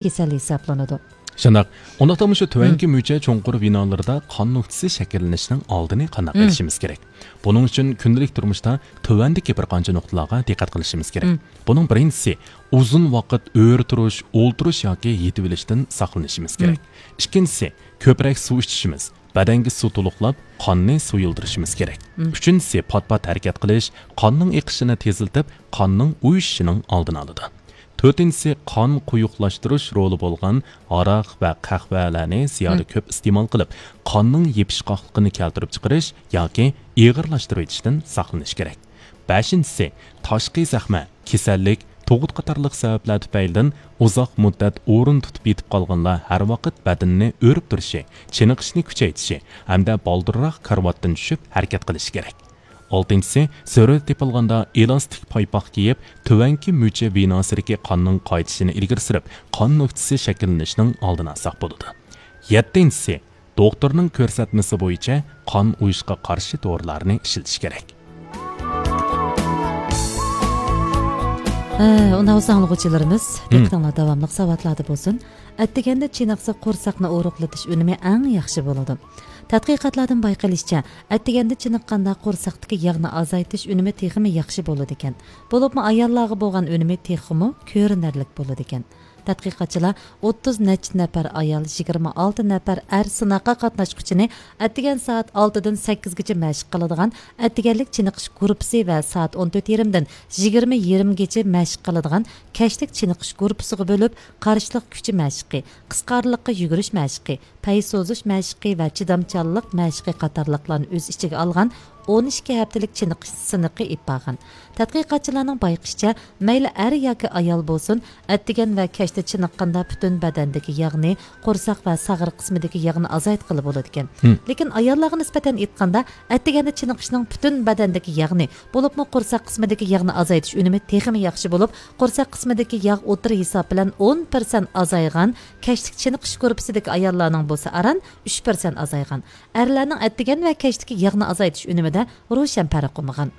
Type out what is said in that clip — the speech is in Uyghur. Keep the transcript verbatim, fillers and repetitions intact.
كېسەل ھېسابلىنىدۇ. شۇنداق. ئۇنداقتا مۇشۇ تۆۋەنكى مم. مۈچە چوڭقۇر ۋېنالىردا قان نۆكتىسى شەكىللىنىشنىڭ ئالدىنى قانداق مم. ئېلىشىمىز كېرەك؟ بۇنىڭ ئۈچۈن كۈندىلىك تۇرمۇشتا تۆۋەندىكى بىر قانچە نۇقتىلارغا دىققەت قىلىشىمىز كېرەك. مم. بۇنىڭ بىرىنچىسى، ئۇزۇن ۋاقىت ئۆرە تۇرۇش، ئولتۇرۇش ياكى يېتىۋېلىشتىن ساقلىنىشىمىز كېرەك. مم. ئىككىنچىسى، كۆپرەك سۇ ئىچىشىمىز، بەدەنگە سۇ تولۇقلاپ، قاننى سۇيۇلدۇرۇشىمىز كېرەك. مم. ئۈچىنچىسى، پات-پات ھەرىكەت قىلىش قاننىڭ ئېقىشىنى تېزلىتىپ، قاننىڭ ئۇيۇشۇشىنىڭ ئالدىنى ئالىدۇ. تۆتىنچىسى، قان قويۇقلاشتۇرۇش رولى بولغان ھاراق ۋە قەھۋەلەرنى زىيادە مم. كۆپ ئىستېمال قىلىپ، قاننىڭ يېپىشقاقلىقىنى كەلتۈرۈپ چىقىرىش ياكى ئېغىرلاشتۇرۇۋېتىشتىن ساقلىنىش كېرەك. بەشىنچىسى، تاشقى زەخمە، كېسەللىك، تۇغۇت قاتارلىق سەۋەبلەر تۈپەيلىدىن ئۇزاق مۇددەت ئورۇن تۇتۇپ يېتىپ قالغانلار ھەر ۋاقىت بەدىنىنى ئۆرۈپ تۇرۇشى، چېنىقىشنى كۈچەيتىشى ھەمدە بالدۇرراق كارىۋاتتىن چۈشۈپ ھەرىكەت قىلىشى كېرەك. ئالتىنچىسى، زۆرۈر تېپىلغاندا ئېلاستىك پايپاق كىيىپ، تۆۋەنكى مۈچە ۋېناسىدىكى قاننىڭ قايتىشىنى ئىلگىرى سۈرۈپ، قان نۆكتىسى شەكىللىنىشنىڭ ئالدىنى ئالساق بولىدۇ. يەتتىنچىسى، دوختۇرنىڭ كۆرسەتمىسى بويىچە قان ئۇيۇشقا قارشى دورىلارنى ئىشلىتىش كېرەك. ھە، ئۇنداق بولسا ئاڭلىغۇچىلىرىمىز، مم. دىققىتىڭلار داۋاملىق ساۋاتلاردا بولسۇن. ئەتىگەندە چېنىقسا قورساقنى ئورۇقلىتىش ئۈنۈمى ئەڭ ياخشى بولىدۇ. تەتقىقاتلاردىن بايقىلىشىچە، ئەتىگەندە چېنىققاندا قورساقتىكى ياغنى ئازايتىش ئۈنۈمى تېخىمۇ ياخشى بولىدىكەن. بولۇپمۇ ئاياللارغا بولغان ئۈنۈمى تېخىمۇ كۆرۈنەرلىك بولىدىكەن. تەتقىقاتچىلار ئوتتۇز نەچچە نەپەر ئايال، يىگىرمە ئالتە نەپەر ئەر سىناققا قاتناشقۇچىنى ئەتىگەن سائەت ئالتىدىن سەككىزگىچە مەشىق قىلىدىغان ئەتىگەنلىك چېنىقىش گۇرۇپپىسى ۋە سائەت ئون تۆت يېرىمدىن يىگىرمە يېرىمگىچە مەشىق قىلىدىغان كەچلىك چېنىقىش گۇرۇپپىسىغا بۆلۈپ، قارشىلىق كۈچى مەشىقى، قىسقا ئارىلىققا يۈگۈرۈش مەشىقى، پەي سوزۇش مەشىقى ۋە چىدامچانلىق مەشىقى قاتارلىقلارنى ئۆز ئىچىگە ئالغان ئون ئىككى ھەپتىلىك چېنىقىش سىنىقى ئېلىپ بارغان. تەتقىقاتچىلارنىڭ بايقىشىچە، مەيلى ئەر ياكى ئايال بولسۇن، ئەتىگەن ۋە كەچتە چېنىققاندا پۈتۈن بەدەندىكى ياغنى، قورساق ۋە ساغرا قىسمىدىكى ياغنى ئازايتقىلى بولىدىكەن. ھىم. لېكىن ئاياللارغا نىسبەتەن ئېيتقاندا، ئەتىگەندە چېنىقىشنىڭ پۈتۈن بەدەندىكى ياغنى، بولۇپمۇ قورساق قىسمىدىكى ياغنى ئازايتىش ئۈنۈمى تېخىمۇ ياخشى بولۇپ، قورساق قىسمىدىكى ياغ ئوتتۇرا ھېساب بىلەن ئون پىرسەنت ئازايغان، كەچلىك چېنىقىش گۇرۇپپىسىدىكى ئاياللارنىڭ بولسا ئاران ئۈچ پىرسەنت ئازايغان. ئەرلەرنىڭ ئەتىگەن ۋە كەچتىكى ياغنى ئازايتىش ئۈنۈمىدە روشەن پەرق بولمىغان.